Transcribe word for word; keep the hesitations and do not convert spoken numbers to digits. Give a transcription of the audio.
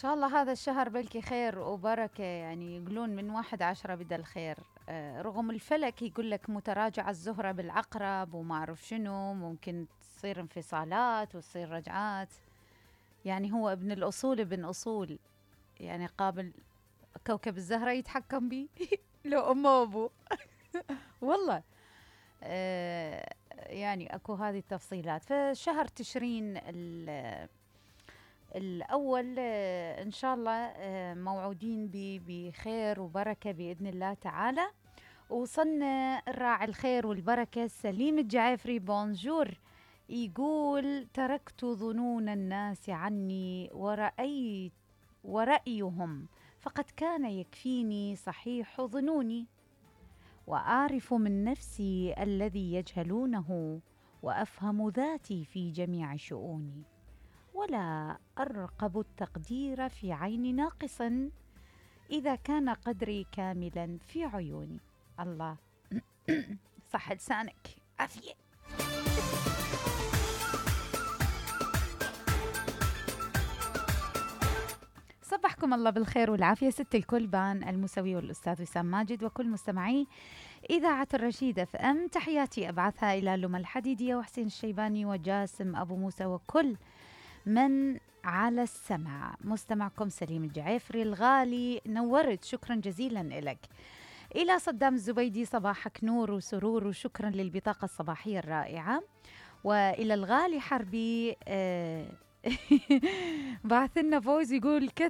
شاء الله هذا الشهر بلكي خير وبركة، يعني يقولون من واحد عشرة بدأ الخير. آه، رغم الفلك يقول لك متراجعة الزهرة بالعقرب وما أعرف شنو، ممكن تصير انفصالات وتصير رجعات. يعني هو ابن الأصول ابن أصول، يعني قابل كوكب الزهرة يتحكم بي لو أمه وأبوه. والله. آه يعني أكو هذه التفصيلات. فشهر تشرين ال- الأول، آه إن شاء الله آه موعودين ب- بخير وبركة بإذن الله تعالى. وصلنا الراعي الخير والبركة سليم الجعافري، بونجور. يقول: تركت ظنون الناس عني ورأيت ورأيهم، فقد كان يكفيني صحيح ظنوني، وأعرف من نفسي الذي يجهلونه، وأفهم ذاتي في جميع شؤوني، ولا أرقب التقدير في عين ناقص إذا كان قدري كاملا في عيوني. الله. صح لسانك عافية. صبحكم الله بالخير والعافية ست الكل، بان المسوي والأستاذ وسام ماجد وكل مستمعي إذاعة الرشيد اف ام. تحياتي أبعثها إلى لما الحديدية وحسين الشيباني وجاسم أبو موسى وكل من على السمع. مستمعكم سليم الجعافري الغالي، نورت، شكرا جزيلا لك. إلى صدام الزبيدي: صباحك نور وسرور وشكرا للبطاقة الصباحية الرائعة. وإلى الغالي حربي، آه بعث لنا فوز يقول: كث